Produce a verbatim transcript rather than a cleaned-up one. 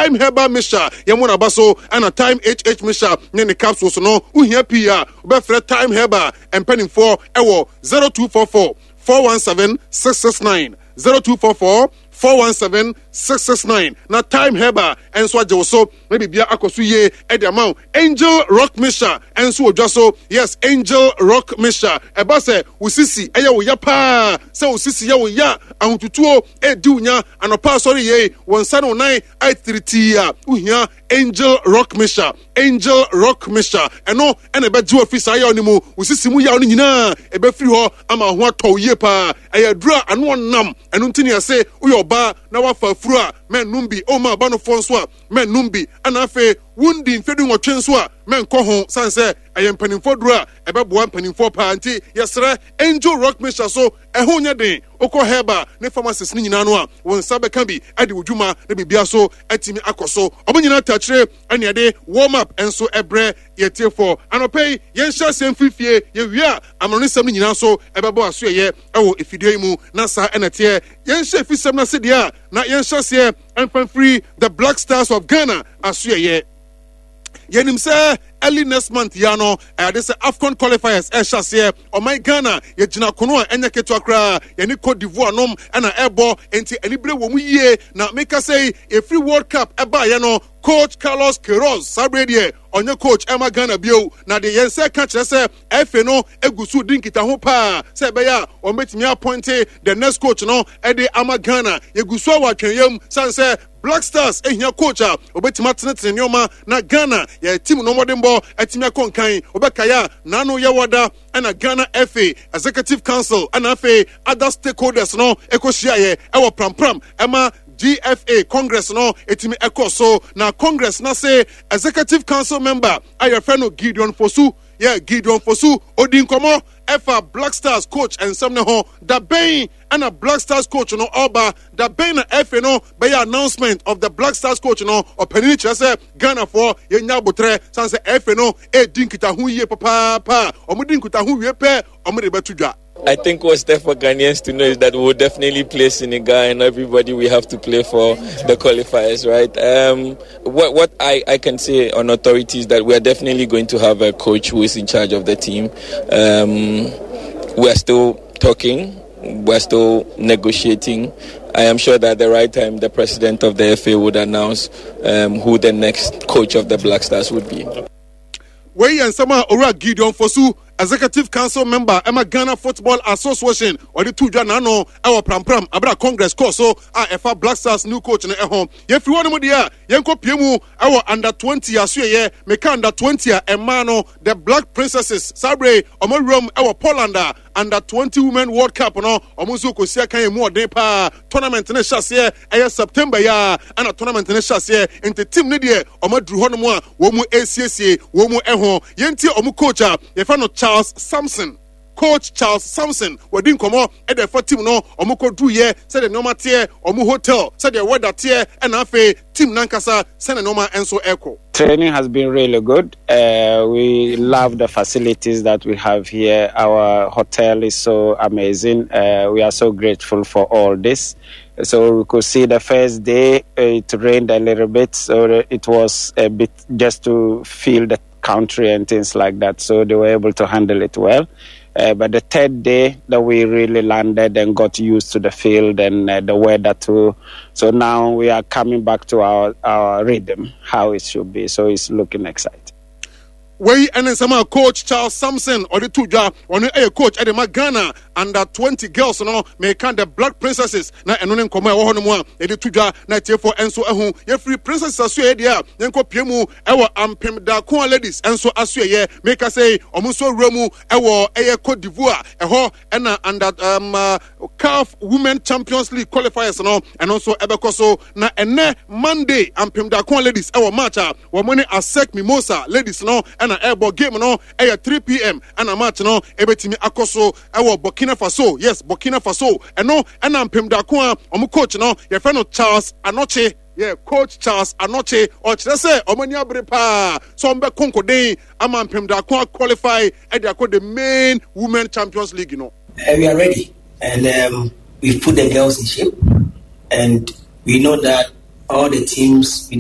Time Herbal Mixture, yɛmo naba so, ɛna Time H H Mixture ne ne capsules no. Wohia pii a, wobɛfrɛ Time Herbal mpanimfoɔ ɛwɔ zero two four four four one seven six six nine, zero two four four four one seven six six nine, na Time Herbal nso agye wo so na biribia akɔ so yie ɛde ama wo. Angel Rock Mixture nso wɔ dwa so. Yes, Angel Rock Mixture, ɛba sɛ wo sisi ɛyɛ wo ya paa, sɛ wo sisi yɛ wo ya, ahotutuo ɛdi wo nya anɔpa, asɔre yie, wɔn nsa ne wo nan ayɛ tiritii a, wohia Angel Rock Mixture. Angel Rock Mixture, ɛno ɛna ɛbɛgye wo afiri saa yaw no mu. Wo sisi mu yaw no nyinaa ɛbɛfiri hɔ ama ho atɔ wo yie paa. Ɛyɛ aduro a ano ɔnam, ɛno nti ne ɛse woyɛ ɔbaa na wafa afuro a, mɛnnom bi. Ɔma aba nofoɔ nso a, mɛnnom bi. Ɛna afei wondi mfe du nwɔtwe nso a, mɛnkɔ ho, sane sɛ ɛyɛ mpanimfoɔ duro a ɛbɛboa mpanimfoɔ paa. Nti yɛsrɛ, Angel Rock Mixture so ɛho nyɛ den. Wokɔ herbal ne pharmacist no nyinaa no a, wo nsa bɛka bi ɛde wo dwuma na biribia so atumi akɔ so. Ɔmo nyinaa takyire ɛne ɛde warm up nso ɛbrɛ yɛtiefoɔ anɔpɛ yi. Yɛnhyɛ aseɛ mfirifie, yɛwie a, amanonesɛm no nyinaa so ɛbɛbɔ aso ɛyɛ ɛwɔ efidie yi mu. Na saa ɛna teɛ. Yɛnhyɛ efisɛm no ase deɛ a, na yɛnhyɛ aseɛ ɛmfa mfiri the Black Stars of Ghana aso. Ɛyɛ yɛnim sɛ early next month ya no, ɛyɛde sɛ AFCON qualifiers ɛhyɛ aseɛ. Ɔman Ghana yɛgyina kono a ɛnyɛ ketewa koraa, yɛne Cote d'Ivoire nom ɛna ɛbɔ, nti anibere wɔ mu yie. Na meka sɛ ɛfiri World Cup ɛbaeɛ no, Coach Carlos Queiroz, saa bere deɛ ɔnyɛ coach ɛma Ghana bio, na deɛ yɛn nsa ka kyerɛ sɛ F A no egu so di nkitaho paa sɛ ɛbɛyɛ a wɔn bɛtumi appoint the next coach no ɛde ama Ghana. Yɛgu so a wɔ atwɛnyɛm san sɛ Black Stars ehia coach a obetumi atenetene nneɛma na Ghana yɛ team no mmɔdenbɔ atumi akɔ nkan. Obɛkaeɛ a, n'ano yɛ wɔda ɛna Ghana F A Executive Council ɛna afei other stakeholders no ɛkɔhyiaeɛ ɛwɔ Prampram ɛma G F A Congress no ɛtumi ɛkɔ so. Na Congress na se Executive Council member a yɛfrɛ no Gideon Fosu, yɛ Gideon Fosu, odi nkɔmɔ ɛfa Black Stars coach nsɛm ne ho. Da bɛn ɛna Black Stars coach no ɔba? Da bɛn na F A no bɛyɛ announcement of the Black Stars coach no? Ɔpanin kyerɛ sɛ Ghanafoɔ yɛnya abotrɛ, san sɛ F A no ɛredi nkitaho yie papaapa. Ɔmo di nkitaho wie pɛ, ɔmo de bɛto dwa. I think what's there for Ghanaians to know is that we'll definitely play Senegal and everybody we have to play for the qualifiers, right? Um, what what I, I can say on authority is that we are definitely going to have a coach who is in charge of the team. Um, we are still talking, we're still negotiating. I am sure that at the right time, the president of the F A would announce um, who the next coach of the Black Stars would be. Wei yɛ nsɛm a Owura Gideon Fosu, Executive Council member ɛma Ghana Football Association, ɔde to dwa n'ano ɛwɔ Prampram abira Congress kɔɔ so a ɛfa Black Stars new coach no ɛho. Yɛfiri hɔ no mu deɛ a, yɛnkɔ pie mu ɛwɔ under twenty asoɛyɛ. Meka under twenty a, ɛmaa no the Black Princesses, saa bere ɔmo awuram ɛwɔ Poland a Under twenty Women World Cup no, ɔmo nso kɔsi akan emu ɔden paa. Tournament no hyɛ aseɛ ɛyɛ September yi a, ɛna tournament no hyɛ aseɛ, nti team no deɛ, ɔmo aduru hɔnom a wɔn mu esiesie wɔn mu ɛho. Yɛntie ɔmo coach a yɛfrɛ no Charles Sampson. Coach Charles Sampson wɔdi nkɔmɔ ɛde ɛfa team no, ɔmo kɔ duruyɛ, sɛdeɛ nneɛma teɛ, ɔmo hotel, sɛdeɛ weather teɛ, ɛna afei team nankasa, sɛdeɛ nneɛma nso ɛkɔ. Training has been really good. Uh, we love the facilities that we have here. Our hotel is so amazing. Uh, we are so grateful for all this. So we could see the first day it rained a little bit, so it was a bit just to feel the country and things like that. So they were able to handle it well. Uh, but the third day that we really landed and got used to the field and uh, the weather too. So now we are coming back to our, our rhythm, how it should be. So it's looking exciting. Wei ɛne nsɛm a Coach Charles Sampson ɔde to dwa. Ɔno ɛyɛ coach ɛde ma Ghana Under twenty girls no, meka the Black Princesses, na ɛno ne nkɔmmɔ a ɛwɔ hɔ no mu a yɛde to dwa na atiefoɔ nso ɛho. Yɛfiri Princesses asoɛyɛ deɛ a, yɛnkɔ pie mu ɛwɔ Ampem Daako Ladies nso asoɛyɛ. Meka sɛ ɔmo nso awura mu ɛwɔ ɛyɛ Cote d'Ivoire ɛhɔ, ɛna under um, uh, CAF Women Champions League qualifiers no, ɛno nso ɛbɛkɔ so. Na ɛnɛ Monday, Ampem Daako Ladies ɛwɔ match a wɔn ne ASEC Mimosa Ladies no ɛna ɛrebɔ. Game no ɛyɛ three p m ɛna match no ɛbɛtumi akɔ so ɛwɔ Burkina Faso. Yes, Burkina Faso. Ɛno ɛna Ampem Daako a wɔn coach no yɛfrɛ no Charles Anɔkye. Yɛ Coach Charles Anɔkye ɔkyerɛ sɛ ɔmo ani abere paa sɛ ɔmo bɛ konkoden ama Mpem Daako qualify ɛde akɔ the main Women Champions League no. Uh, we are ready and um, we've put the girls in shape and we know that all the teams within